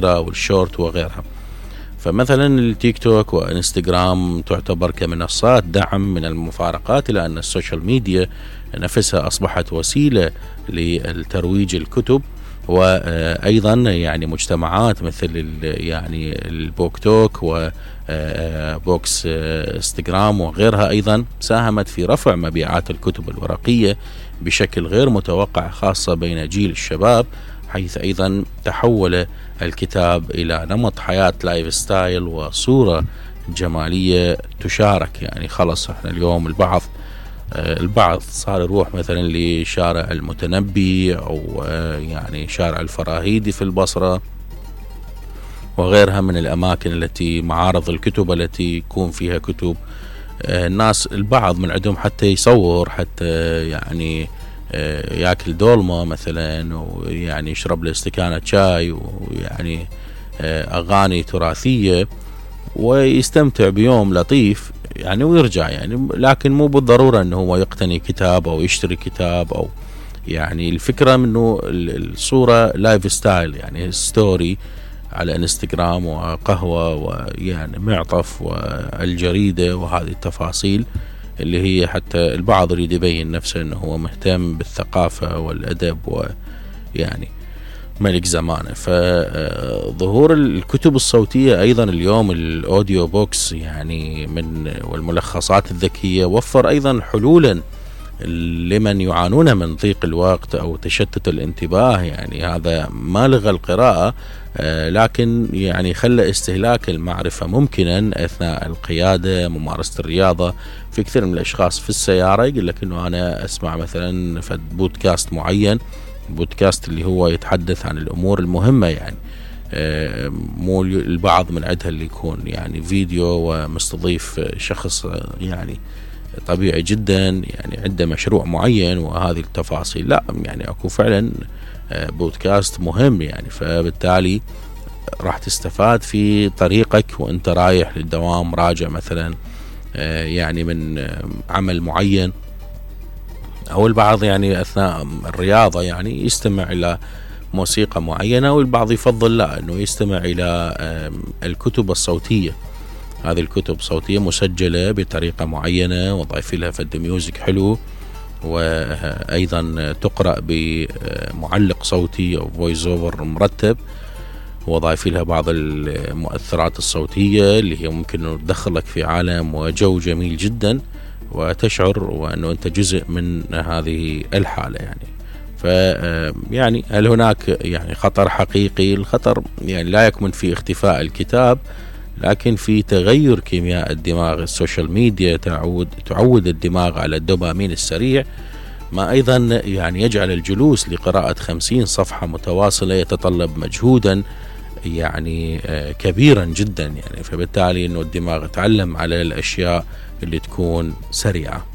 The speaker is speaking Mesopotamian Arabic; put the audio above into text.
والشورت وغيرها. فمثلا التيك توك وانستغرام تعتبر كمنصات دعم من المفارقات، إلى أن السوشيال ميديا نفسها أصبحت وسيلة للترويج الكتب، وأيضا يعني مجتمعات مثل يعني البوك توك وبوكس انستغرام وغيرها أيضا ساهمت في رفع مبيعات الكتب الورقية بشكل غير متوقع، خاصة بين جيل الشباب، حيث أيضا تحول الكتاب إلى نمط حياة لايف ستايل وصورة جمالية تشارك. يعني خلص احنا اليوم البعض صار يروح مثلا لشارع المتنبي أو يعني شارع الفراهيدي في البصرة وغيرها من الأماكن التي معارض الكتب التي يكون فيها كتب. الناس البعض من عندهم حتى يصور، حتى يعني ياكل دولمة مثلا، ويعني يشرب له استكانة شاي، ويعني أغاني تراثية، ويستمتع بيوم لطيف يعني ويرجع يعني. لكن مو بالضرورة أنه هو يقتني كتاب أو يشتري كتاب، أو يعني الفكرة منه الصورة لايف ستايل، يعني ستوري على انستغرام وقهوة ويعني معطف والجريدة وهذه التفاصيل اللي هي حتى البعض يريد يبين نفسه أنه هو مهتم بالثقافة والأدب ويعني ملك زمانه. فظهور الكتب الصوتية أيضا اليوم الأوديو بوكس يعني والملخصات الذكية وفر أيضا حلولا لمن يعانون من ضيق الوقت أو تشتت الانتباه. يعني هذا ما لغى القراءة، لكن يعني خلى استهلاك المعرفة ممكنا أثناء القيادة، ممارسة الرياضة. في كثير من الأشخاص في السيارة يقول لك أنه أنا أسمع مثلا في بودكاست معين، بودكاست اللي هو يتحدث عن الأمور المهمة، يعني مو البعض من عندها اللي يكون يعني فيديو ومستضيف شخص يعني طبيعي جدا يعني عنده مشروع معين وهذه التفاصيل. لا، يعني أكو فعلا بودكاست مهم يعني، فبالتالي راح تستفاد في طريقك وانت رايح للدوام، راجع مثلا يعني من عمل معين، أو البعض يعني أثناء الرياضة يعني يستمع إلى موسيقى معينة، والبعض يفضل لا أنه يستمع إلى الكتب الصوتية. هذه الكتب صوتية مسجلة بطريقة معينة وضعف لها فد ميوزك حلو، وأيضا تقرأ بمعلق صوتي أو فويس اوفر مرتب، وضعف لها بعض المؤثرات الصوتية اللي هي ممكن تدخلك في عالم وجو جميل جدا، وتشعر وأنه أنت جزء من هذه الحالة. يعني يعني هل هناك يعني خطر حقيقي؟ الخطر يعني لا يكمن في اختفاء الكتاب، لكن في تغير كيمياء الدماغ. السوشيال ميديا تعود الدماغ على الدوبامين السريع، ما أيضا يعني يجعل الجلوس لقراءة 50 صفحة متواصلة يتطلب مجهودا يعني كبيرا جدا يعني. فبالتالي أنه الدماغ يتعلم على الأشياء اللي تكون سريعة.